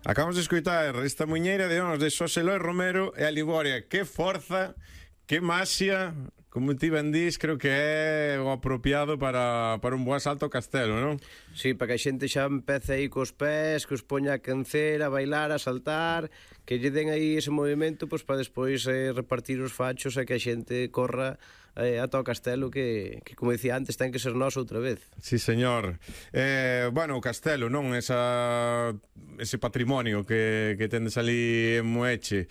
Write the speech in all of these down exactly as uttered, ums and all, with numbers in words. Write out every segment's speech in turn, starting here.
Acabamos de escoitar esta muñeira de Ons de Xosé Loi Romero e a Liboria. Que forza, que maxia, como ti ben dís, creo que é o apropiado para, para un bo asalto ao castelo, non? Sí, para que a xente xa empece aí cos pés, que os poña a cancer, a bailar, a saltar, que lle den aí ese movimento, pois para despois eh, repartir os fachos e que a xente corra eh, ata o castelo que, que, como dicía antes, ten que ser noso outra vez. Sí, señor. Eh, bueno, o castelo, non? Esa, ese patrimonio que, que tendes ali en Moeche.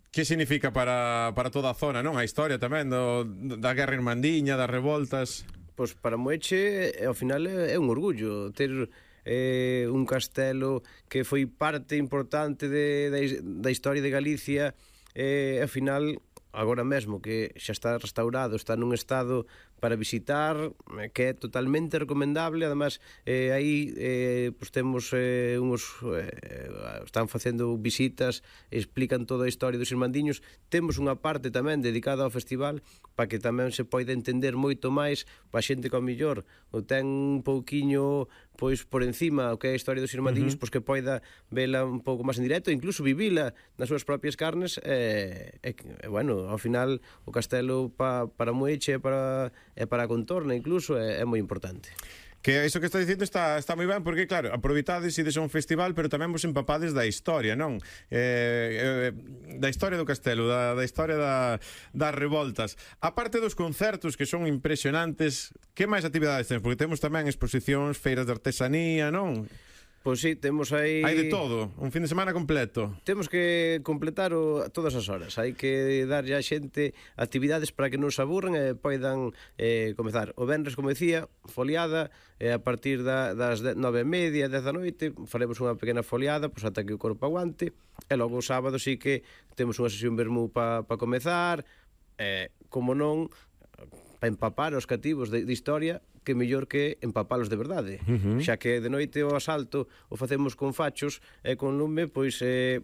Que significa para, para toda a zona, non? A historia tamén do, da guerra irmandiña, das revoltas. Pois para Moeche, ao final, é, é un orgullo ter eh, un castelo que foi parte importante de, de, da historia de Galicia, e eh, ao final, agora mesmo que xa está restaurado, está nun estado para visitar, que é totalmente recomendable. Además, eh, aí eh, pues temos eh, uns eh, están facendo visitas, explican toda a historia dos irmandiños. Temos unha parte tamén dedicada ao festival para que tamén se poida entender moito máis para a xente que ao millor o ten un pouquiño pois por encima o que é a historia dos irmandiños, uh -huh. pois que poida vela un pouco máis en directo, incluso vivila nas súas propias carnes. E, e, e bueno, ao final o castelo pa, para Moeche e para e para a contorna incluso é, é moi importante. Que iso que está dicindo está, está moi ben, porque claro, aproveitades e ides a un festival, pero tamén vos empapades da historia, non? Eh, eh, da historia do castelo, da, da historia da, das revoltas. A parte dos concertos que son impresionantes, que máis actividades temos? Porque temos tamén exposicións, feiras de artesanía, non? Pois sí, temos aí... Hai de todo, un fin de semana completo. Temos que completar o, todas as horas. Hai que darlle a xente actividades para que non se aburren e poidan eh, comezar. O venres, como decía, foliada, e a partir da, das nove e media, dez da noite, faremos unha pequena foliada, pois ata que o corpo aguante, e logo o sábado sí que temos unha sesión vermú para pa comezar, e, como non, para empapar os cativos de, de historia, que mellor que empapalos de verdade. Uh -huh. Xa que de noite o asalto o facemos con fachos e con lume, pois eh,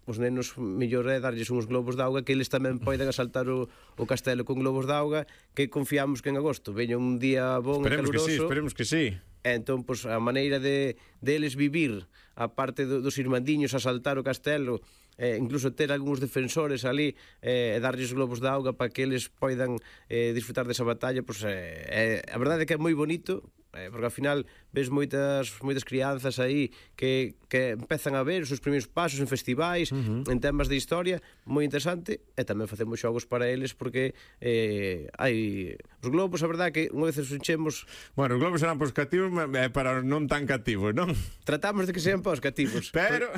os nenos mellor é darlles uns globos de auga, que eles tamén poden asaltar o, o castelo con globos de auga, que confiamos que en agosto veña un día bon e caluroso. Esperemos que sí, esperemos que sí. E entón, pois, a maneira de, de eles vivir a parte do, dos irmandiños, asaltar o castelo, eh, incluso ter algúns defensores ali e eh, darlles globos de auga para que eles poidan eh, disfrutar desa batalla, pois, eh, eh, a verdade é que é moi bonito, eh, porque ao final ves moitas moitas crianzas aí que, que empezan a ver os seus primeiros pasos en festivais, uh -huh. en temas de historia, moi interesante, e tamén facemos xogos para eles, porque eh, hai os globos, a verdade que unha vez os enchemos... Bueno, os globos serán pos cativos, eh, para non tan cativos, non? Tratamos de que sean pos cativos, pero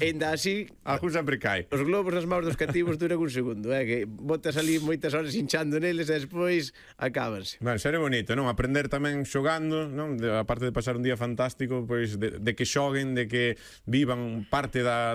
ainda así algún sempre cai. Os globos nas maus dos cativos duran un segundo, eh, que botas ali moitas horas hinchando neles e despois acábanse. Bueno, será bonito, non? Aprender tamén xogando, non? De, aparte de pasar un día fantástico, pois de, de que xoguen, de que vivan parte da